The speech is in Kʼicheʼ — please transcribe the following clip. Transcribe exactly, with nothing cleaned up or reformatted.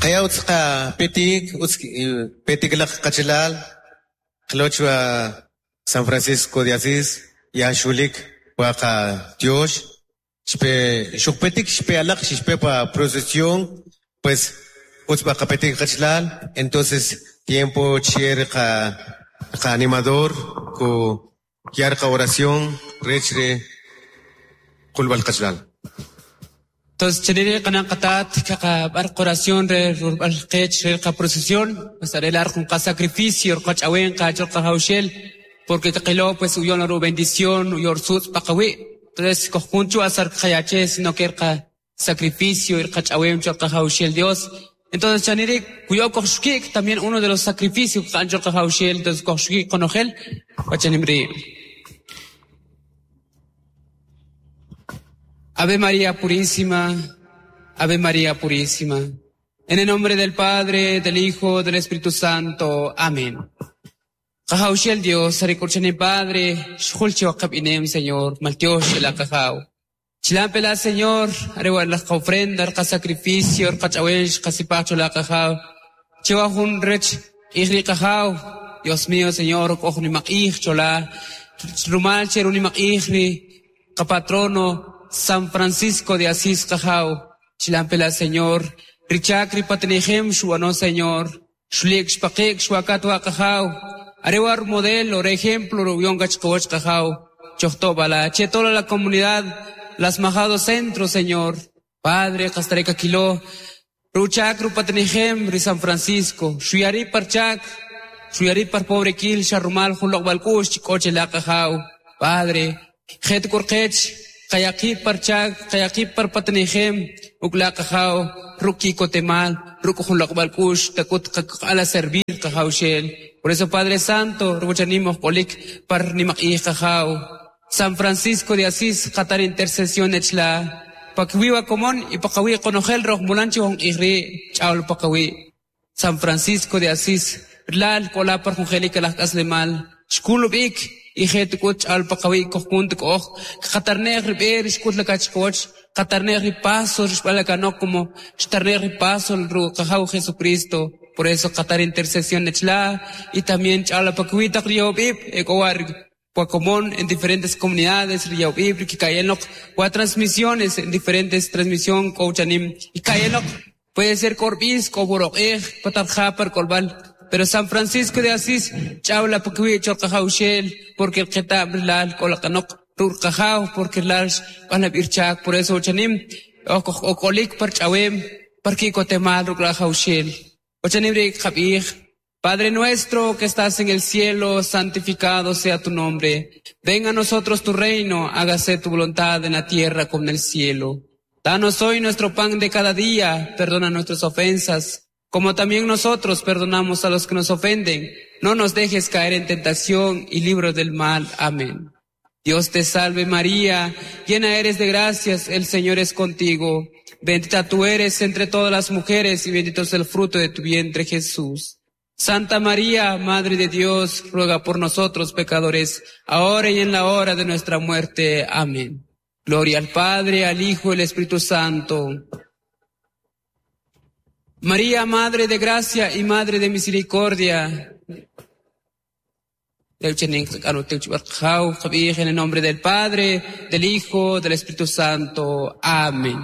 Qaya utz qapetik utz petik laj qachalal qloch wa San Francisco de Asís ya xulik wa qatyox xpe xuqpetik xpe alaq xpe pa procesión pues utz b'a qapetik qachalal entonces tiempo che qa qa animador ku yar qa oración rech re qulb'al qachalal. Entonces, chenire kanan qatat kaqa bar oración re rurbal qech re qa procesión, pues arelar con qa sacrificio qach awen qa chol qa haushel, porque qilo pues uyon ru bendición uyor sutz paqawi. Entonces, kojunchu asar qayache sino que qa sacrificio ir qach awen chol qa haushel Dios. Entonces, chanire kuyo koxkik también uno de los sacrificios que anchol qa haushel, entonces koxkik konojel, wachanimri. Ave María Purísima, Ave María Purísima. En el nombre del Padre, del Hijo, del Espíritu Santo. Amén. Qajawxel Dios, arikurchani Padre, xjulchi waqab inem, Señor, maltiox la qajaw. Chilampela, Señor, arewa la ofrenda, qa sacrificio, qa ch'awex, qa sipacho la qajaw. Chiwa jun rech, ijri qajaw. Dios mío, Señor, k'oj nimaq'ij chola. Rumal che runimaq'ij ri qa patrono San Francisco de Asís qajaw. Chilampela, Señor, richak ripatnijem shuano, Señor. Xulik xpaqik xuakatwa qajaw. Arewar modelo, ejemplo, rubión gachkowach qajaw. Chochtobala, che toda la comunidad, las majado centro, Señor. Padre, Castareca Quiló, Ruchak rupatnijem ri San Francisco, Shuyari parchak, Shuyari par pobre kil, Sharrumal, Julok Balkush, Chikoche la qajaw. Padre, Het kurqech, Kayakip parchak, kayakip par patnijem, ukla qajaw, ruki kotemal, ruku julok balkush, takut ala servir qajaw shel. Por eso, Padre Santo, ruchanimos kolik par nimaq'ij qajaw. San Francisco de Asís, qatar intercesión echla. Pakwiwa komon y pakawi konojel roj mulanchi hon ijri, chaul pakawi. San Francisco de Asís, lal kola par jungelica las kaslemal. Shkulubik, y het kut al pakawi kohkunt koh. Qatarnej riber, shkut la kachkoch. Qatarnej ripaso, rishbala como, shtarnej ripaso, ru qajaw Jesucristo. Por eso qatar intercesión echla, y también chala pakawi taqriobib, ekowar Puacomón en diferentes comunidades, Riaubib, Kikayenok, o transmisiones en diferentes transmisión, Cochanim, y Kayenok, puede ser Corbis, Coboroj, Patarjapar, Colbal, pero San Francisco de Asís, Chabla, Pakawi, Cholcajaushel, porque el Ketab, Lal, Kolakanok, Rurkajau, porque el Panabirchak, por eso Ochanim, Okolik, Parchawem, Parquikotemal, Rukrajaushel, Ochanim, Jabij. Padre nuestro que estás en el cielo, santificado sea tu nombre. Venga a nosotros tu reino, hágase tu voluntad en la tierra como en el cielo. Danos hoy nuestro pan de cada día, perdona nuestras ofensas, como también nosotros perdonamos a los que nos ofenden. No nos dejes caer en tentación y líbranos del mal. Amén. Dios te salve María, llena eres de gracias, el Señor es contigo. Bendita tú eres entre todas las mujeres y bendito es el fruto de tu vientre Jesús. Santa María, Madre de Dios, ruega por nosotros pecadores, ahora y en la hora de nuestra muerte. Amén. Gloria al Padre, al Hijo y al Espíritu Santo. María, Madre de Gracia y Madre de Misericordia. En el nombre del Padre, del Hijo, del Espíritu Santo. Amén.